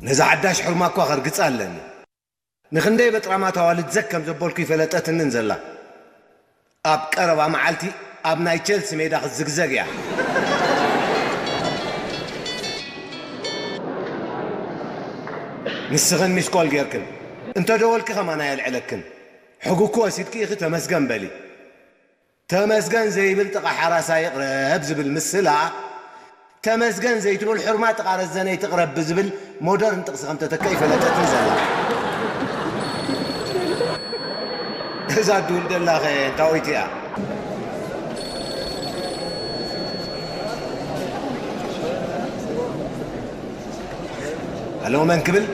ነዛ ሓዳሽ ሕርማ እኳ ከርግጻ ኣለኒ። ንኽንደይ በጥራማት ኣዋልድ ዘግ ከም ዘበልኩ ይፈለጠትንን ዘላ። ኣብ ቀረባ መዓልቲ ኣብ ናይ ቸልሲ ሜዳ ክትዝግዘግ እያ። ንስኽን ሚስኮል ጌርክን እንተ ደወልኪ ከማን ኣየልዕለክን። ሕጉኪ ወሲድኪ ኢኺ ተመስገን በሊ። ተመስገን ዘይብል ጥቓ ሓራሳይ ይቕረብ ዝብል ምስላ፣ ተመስገን ዘይትብል ሕርማ ጥቓ ረዘነይ ትቕረብ ብዝብል ሞደርን ጥቕሲ ከም ተተከ ይፈለጠትን ዘላ። እዛ ድውል ደላኸ እንታወይቲ እያ? ኣሎ መን ክብል?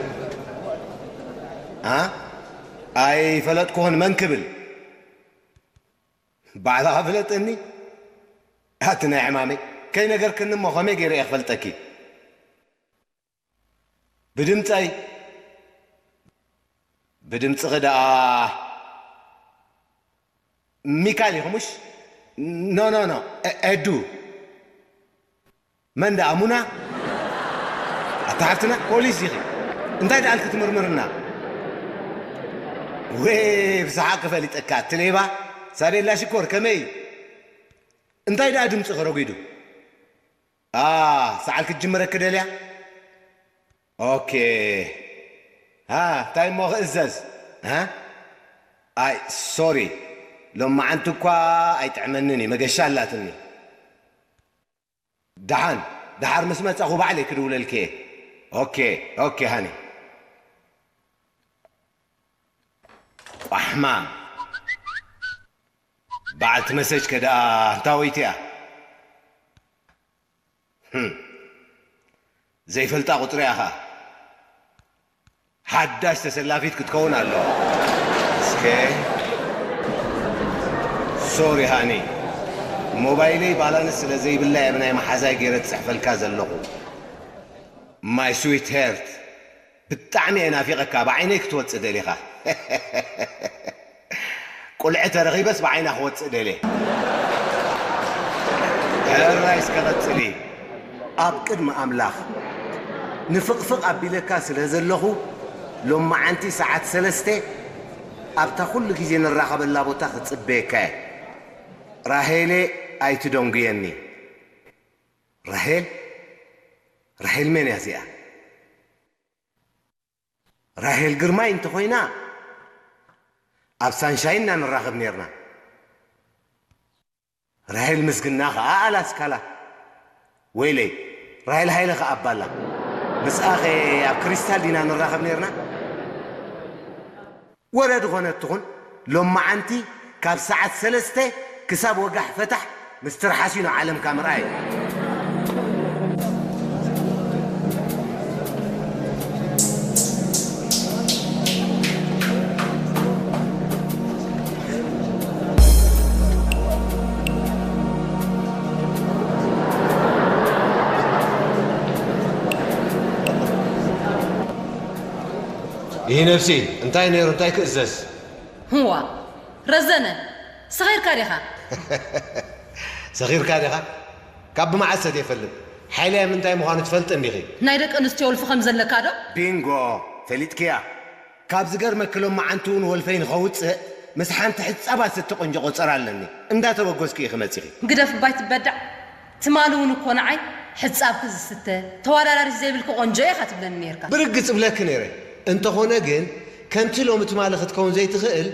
ኣ? ኣይፈለጥኩኽን መን ክብል? ባዕልኻ ፍለጠኒ። ኣቲ ናይ ሕማመይ ከይነገርክኒ እሞ ከመይ ገይረ እየ ክፈልጠኪ? ብድምፀይ? ብድምፅኺ ደኣ ሚካል ኢኹ ምሽ? ኖ፣ ኖ፣ ኖ፣ ኤ-፣ ኤዱ። መን ደኣ ሙና? ኣታ ሓፍትና ፖሊስ ኢኺ። እንታይ ደኣ ክትምርምርና? ወይ ብሰሓቕ ክፈሊጠካ፣ እቲ ሌባ ሳቤላ ሽኮር ከመይ እዩ? እንታይ ደኣ ድምፅኺ ረጒዱ? ኣ፣ ሰዓል ክትጅምረኪ ደልያ? ኦኬ። ሃ፣ እንታይ እሞ ክእዘዝ? ሃ? ኣይ፣ ሶሪ። ሎማዓንቲ እኳ ኣይጥዕመንን እዩ፣ መገሻ ኣላትኒ። ደሓን፣ ደሓር ምስ መጻኹ ባዕለይ ክድውለልኪ እየ። ኦኬ፣ ኦኬ ሃኒ። ቋሕማ። በዓልቲ መሰጅ ከ ደኣ እንታወይቲ እያ? ህም። ዘይፈልጣ ቁጽሪ እያ ኸኣ። ሓዳሽ ተሰላፊት ክትከውን ኣለዋ። እስከ። ሶሪ ሃኒ። ሞባይለይ ባላንስ ስለ ዘይብላ እየ ብናይ መሓዛይ ገይረ ዝጽሕፈልካ ዘለኹ። My sweetheart፣ ብጣዕሚ እየ ናፊቐካ፣ ብዓይነይ ክትወጽእ ደሊኻ። ቁልዒ ተረኺበስ ብዓይና ክወጽእ ደልየ። ሕራይ እስከ ቀጽሊ። ኣብ ቅድሚ ኣምላኽ ንፍቕፍቕ ኣቢለካ ስለ ዘለኹ፣ ሎማዓንቲ ሰዓት ሰለስተ ኣብታ ኩሉ ግዜ ንራኸበላ ቦታ ክጽበየካ እየ። ራሄሌ ኣይትደንጉየኒ። ራሄል? ራሄል መን እያ እዚኣ? ራሄል ግርማይ እንተኾይና፣ ኣብ ሳንሻይን ኢና ንራኸብ ኔርና። ራሄል ምስግና ኸኣ ኣላስካላ። ወይለይ፣ ራሄል ሃይለ ኸኣ ኣባላ። ምስኣኸ ኣብ ክሪስታል ዲና ንራኸብ ኔርና? ወረ ዝኾነት ትኹን፣ ሎማዓንቲ ካብ ሰዓት ሰለስተ ክሳብ ወጋሕ ፈታሕ ምስ ትርሓስ እዩ ንዓለምካ ምርኣይ። ይህ ነፍሲ እንታይ ነይሩ፣ እንታይ ክእዘዝ? ህዋ፣ ረዘነ፣ ሰኺርካ ዲኻ? ሰኺርካ ዲኻ? ካብ ብመዓስ ሰትየ እፈልጥ? ሓይለይ ኣብ ምንታይ ምዃኑ ትፈልጢ እንዲኺ? ናይ ደቂ ኣንስትዮ ወልፊ ከም ዘለካ ዶ? ቢንጎ፣ ፈሊጥክያ። ካብ ዝገርመኪ ሎማዓንቲ እውን ወልፈይ ንኸውፅእ ምስ ሓንቲ ሕፃብ ኣሰቲ ቆንጆ ቆፀራ ኣለኒ። እንዳተበገስኩ ኢኺ መፂኺ። ግደፍ እባ ኣይትበዳዕ። ትማሊ እውን እኮ ንዓይ ሕፃብኪ ዝስተ ተወዳዳሪት ዘይብልኪ ቆንጆ ኢኻ ትብለኒ ነይርካ። ብርግፅ እብለኪ ነይረ። እንተኾነ ግን ከምቲ ሎሚ ትማሊ ክትከውን ዘይትኽእል